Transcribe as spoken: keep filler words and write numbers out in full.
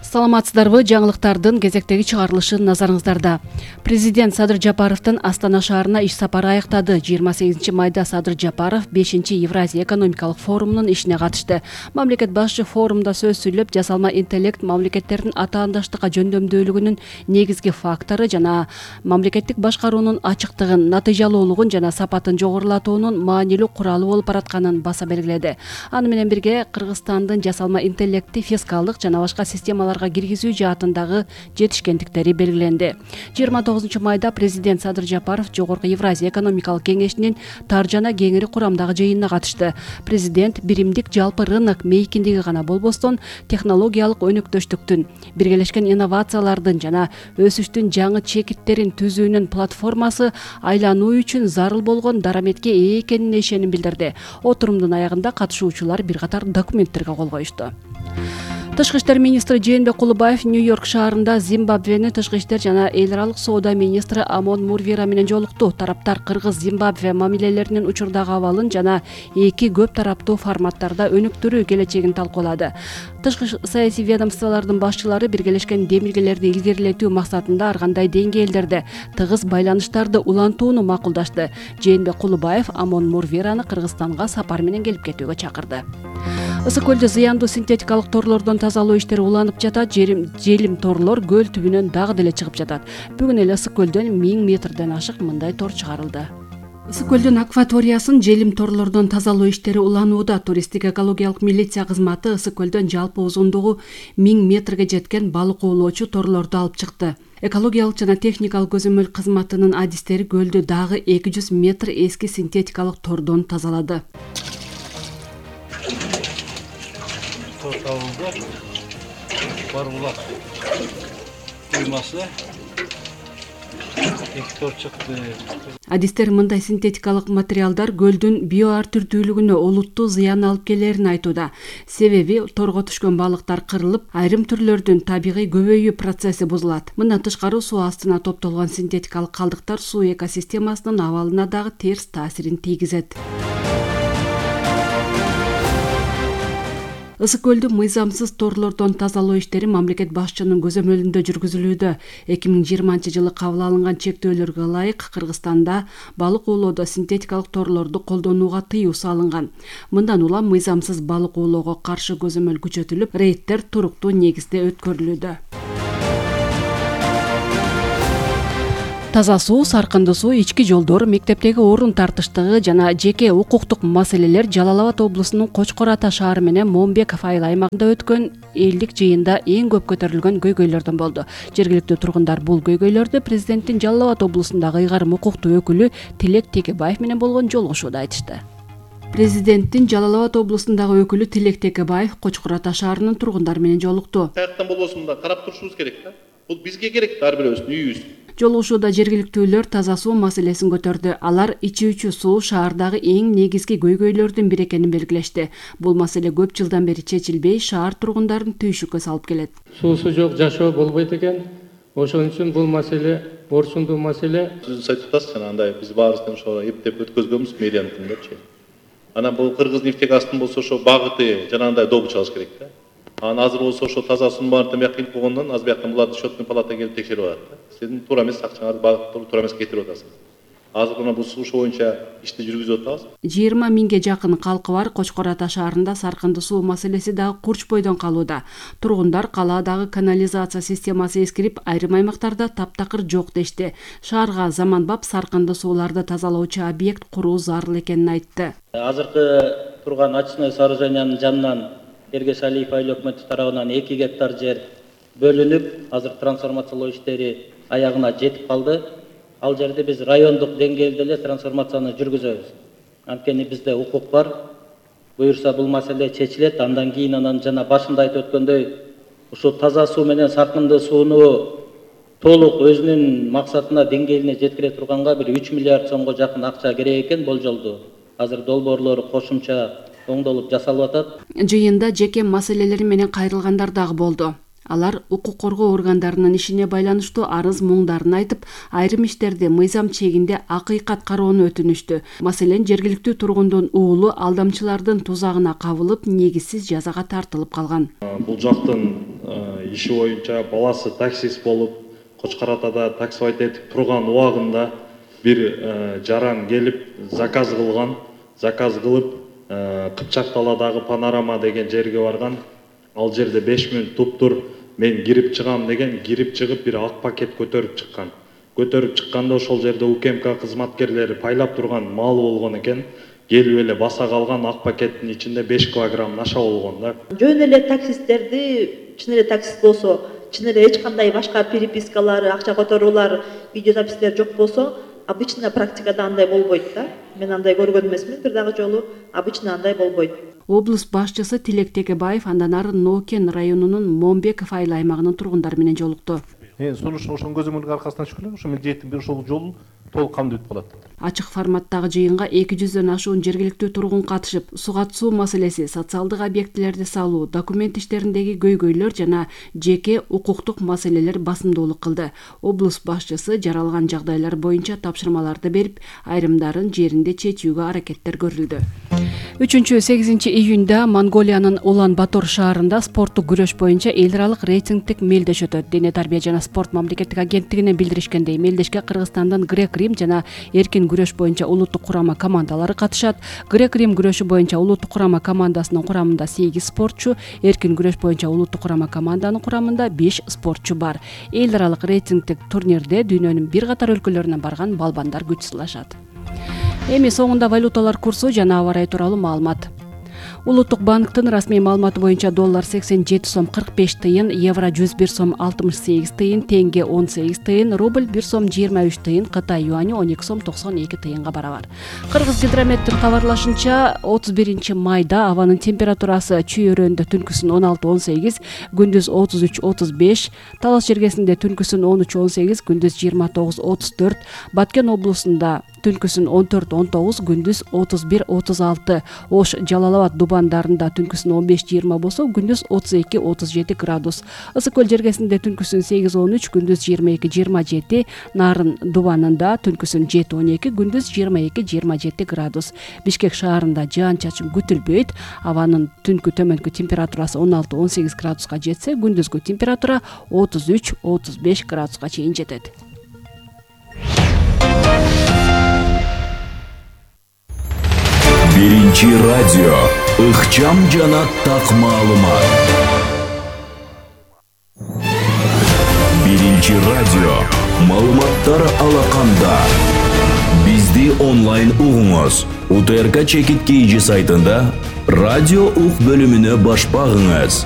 Саламатсыздарбы? Жаңылыктардын кезектеги чыгарылышы назарыңыздарда. Президент Садыр Жапаровдун Астана шаарына иш сапары аяктады. жыйырма сегизинчи майда Садыр Жапаров бешинчи Евразия экономикалык форумунун ишине катышты. Мамлекет башчы форумда сөз сүйлөп, жасалма интеллект мамлекеттердин атаандаштыкка жөндөмдүүлүгүнүн негизги фактору жана мамлекеттик башкаруунун ачыктыгын, натыйжалуулугун жана сапатын жогорулатуунун маанилүү куралы болуп баратканын баса белгиледи. Аны менен бирге Кыргызстандын жасалма интеллектти фискалдык жана башка системаларга киргизүү жаатындагы жетишкендиктери белгиленди. жыйырма тогузунчу майда президент Садыр Жапаров Жогорку Евразия экономикалык кеңешинин тар жана кеңири курамдагы жыйынына катышты. Президент биримдик жалпы рынок мейкиндиги гана болбостон, технологиялык өнөктөштүктүн, биргелешкен инновациялардын жана өсүштүн жаңы чекиттерин түзүүнүн платформасы айлануу үчүн зарыл болгон дараметке ээ экенине ишеним билдирди. Отурумдун аягында катышуучулар бир катар документтерге кол коюшту. Тышкы иштер министри Жээнбек Кулубаев Нью-Йорк шаарында Зимбабвенин тышкы иштер жана эл аралык соода министри Амон Мурвера менен жолукту. Тараптар Кыргыз-Зимбабве мамилелеринин учурдагы абалын жана эки көп тараптуу форматтарда өнүктүрүү келечегин талкуулады. Тышкы саясий ведомстволордун башчылары биргелешкен демилгелерди илгерилетүү максатында ар кандай деңгээлдерде тыгыз байланыштарды улантууну макулдашты. Жээнбек Кулубаев Амон Мурвераны Кыргызстанга сапар менен келип кетүүгө чакырды. Ысык көлдө зыяндуу синтетикалык торлордон тазалоо иштери уланып жатат. Желим торлор көл түбүнөн дагы деле чыгып жатат. Бүгүн эле Ысык көлдөн миң метрден ашык мындай тор чыгарылды. Ысык көлдүн акваториясын желим торлордон тазалоо иштери уланууда. Туристтик экологиялык милиция кызматы Ысык көлдөн жалпы узундугу миң метрге жеткен балык оолоочу торлорду алып чыкты. Экологиялык жана техникалык көзөмөл кызматынын адистери көлдү дагы эки жүз метр эски синтетикалык тордон тазалады. Тор табылды. Барбулак уймасы эки тор чыкты. Адистер мындай синтетикалык материалдар көлдүн био ар түрдүүлүгүнө олуттуу зыян алып келерин айтууда. Себеби торго түшкөн балыктар кырылып, айрым түрлөрдүн табигый көбөйүү процесси бузулат. Мындан тышкары суу астына топтолгон синтетикалык калдыктар суу экосистемасынын абалына дагы терс таасирин тийгизет. Ысык көлдү мыйзамсыз торлордон тазалоо иштери мамлекет башчынын көзөмөлүндө жүргүзүлүүдө. эки миң жыйырманчы жылы кабыл алынган чектөөлөргө ылайык Кыргызстанда балык оолоодо синтетикалык торлорду колдонууга тыюу салынган. Мындан улам мыйзамсыз балык оолоого каршы көзөмөл күчөтүлүп, рейдтер туруктуу негизде өткөрүлүүдө. Таза суу, саркынды суу, ички жолдор, мектептеги орун тартыштыгы жана жеке укуктук маселелер Жалал Абад облусунун Кочкор Ата шаары менен Момбек айыл аймагында өткөн элдик жыйында эң көп көтөрүлгөн көйгөйлөрдөн болду. Жергиликтүү тургундар бул көйгөйлөрдү президенттин Жалал Абад облусундагы ыйгарым укуктуу өкүлү Тилек Текебаев менен болгон жолугушууда айтышты. Президенттин Жалал Абад облусундагы өкүлү Тилек Текебаев Кочкор Ата шаарынын тургундары менен жолукту. Каяктан болбосун да карап турушубуз керек да. Бул бизге керек, ар бирөөбүздүн үйүбүз. Жолугушууда жергиликтүүлөр таза суу маселесин көтөрдү. Алар ичүүчү суу шаардагы эң негизги көйгөйлөрдүн бири экенин белгилешти. Бул маселе көп жылдан бери чечилбей, шаар тургундарын түйшүккө салып келет. Суусу жок жашоо болбойт экен. Ошон үчүн бул маселе орчундуу маселе. Сиз айтып атасыз жана андай биз баарыбыздан ошо эптеп өткөзгөнбүз мэрияныкындачы. Анан бул Кыргыз нефтегазтын болсо ошо багыты жана андай добу чыгыш керек да. Анан азыр болсо ошо таза суу баардыгы бияка келип болгондон азыр бияктан буларды счетный палата келип текшерип атат. Сиздин туура эмес акчаңарды багыттуу туура эмес кетирип атасыз. Азыр мына бул суу боюнча ишти жүргүзүп атабыз. жыйырма миңге жакын калкы бар Кочкор Ата шаарында саркынды суу маселеси дагы курч бойдон калууда. Тургундар калаадагы канализация системасы эскирип, айрым аймактарда таптакыр жок дешти. Шаарга заманбап саркынды сууларды тазалоочу объект куруу зарыл экенин айтты. Азыркы турган очистной сооружениянын жанынан Эргеш Алиев айыл өкмөтү тарабынан эки гектар жер бөлүнүп, азыр трансформациялоо иштери аягына жетип калды. Ал жерде биз райондук деңгээлде эле трансформацияны жүргүзөбүз. Анткени бизде укук бар. Буюрса бул маселе чечилет. Андан кийин анан жана башында айтып өткөндөй, ушул таза суу менен саркынды сууну толук өзүнүн максатына деңгээлине жеткире турганга бир үч миллиард сомго жакын акча керек экен болжолду. Азыр долбоорлор кошумча оңдолуп жасалып атат. Жыйында жеке маселелери менен кайрылгандар дагы болду. Алар укук коргоо органдарынын ишине байланыштуу арыз муңдарын айтып, айрым иштерди мыйзам чегинде акыйкат кароону өтүнүштү. Маселен, жергиликтүү тургундун уулу алдамчылардын тузагына кабылып, негизсиз жазага тартылып калган. Бул жактын иши боюнча баласы таксист болуп Кочкор Атада таксовать этип турган убагында бир жаран келип заказ кылган. Заказ кылып Кыпчак даладагы Панорама деген жерге барган. Ал жерде беш мүнөт туптур мен кирип чыгам деген, кирип чыгып бир ак пакет көтөрүп чыккан. Көтөрүп чыкканда ошол жерде УКМК кызматкерлери пайлап турган мал болгон экен. Келип эле баса калган ак пакеттин ичинде беш килограмм наша болгон да. Жөн эле таксисттерди, чын эле таксист болсо, чын эле эч кандай башка перепискалар, акча которуулар, видеозапистер жок болсо, обычно практикада андай болбойт да. Мен андай көргөн эмесмин бир дагы жолу, обычно андай болбойт. Облус башчысы Тилек Текебаев андан ары Нокен районунун Момбеков айыл аймагынын тургундары менен жолукту. Сунуш ошонун көзөмөлгө аркасынан шүгүрө, ошо мен жеттим бир ошол жолун толук камдуу өтүп калат. Ачык форматтагы жыйынга эки жүздөн ашуун жергиликтүү тургун катышып, суга суу маселеси, социалдык объектилерди салуу, документ иштериндеги көйгөйлөр жана жеке укуктук маселелер басымдуулук кылды. Облус башчысы жаралган жагдайлар боюнча тапшырмаларды берип, айрымдарын жеринде чечүүгө аракеттер көрүлдү. үчүнчү сегизинчи июнда Монголиянын Улан Батор шаарында спорттук күрөш боюнча эл аралык рейтингдик мелдеш өтөт. Дене тарбия жана спорт мамлекеттик агенттигинен билдиришкендей, мелдешке Кыргызстандын Грек-Рим жана эркин күрөш боюнча улуттук курама командалары катышат. Грек-Рим күрөшү боюнча улуттук курама командасынын курамында сегиз спортчу, эркин күрөш боюнча улуттук курама команданын курамында беш спортчу бар. Эл аралык рейтингдик турнирде дүйнөнүн бир катар өлкөлөрүнөн барган балбандар күч сынашат. Эми соңунда валюталар курсу жана аба ырайы тууралуу маалымат. Улуттук банктын расмий маалыматы боюнча доллар сексен жети сом кырк беш тыйын, евро жүз бир сом алтымыш сегиз тыйын, тенге он сегиз тыйын, рубль бир сом жыйырма үч тыйын, Кытай юани он эки сом токсон эки тыйынга барабар. Кыргыз гидрометтин кабарлашынча отуз биринчи майда абанын температурасы Чүй өрөөнүндө түнкүсүн он алты он сегиз, күндүз отуз үч отуз беш, Талас жергесинде түнкүсүн он үч он сегиз, күндүз жыйырма тогуз отуз төрт, Баткен облусунда түнкүсүн он төрт он тогуз, күндүз отуз бир отуз алты, Ош, Жалал абад, Дубандарында түнкүсүн он беш жыйырма болсо, күндүз отуз эки отуз жети градус. Ысык көл жергесинде түнкүсүн сегиз он үч, күндүз жыйырма эки жыйырма жети, Нарын Дубанында түнкүсүн жети он эки, күндүз жыйырма эки жыйырма жети градус. Бишкек шаарында жаан чачын күтүлбөйт. Абанын түнкү төмөнкү температурасы он алты он сегиз градуска жетсе, күндүзгү температура отуз үч отуз беш градуска чейин жетет. Биринчи радио ыкчам жана так маалымат. Биринчи радио маалыматтар алаканда. Бизди онлайн угуңуз. УТРК чекит кийджи сайтында радио ук бөлүмүнө баш багыңыз.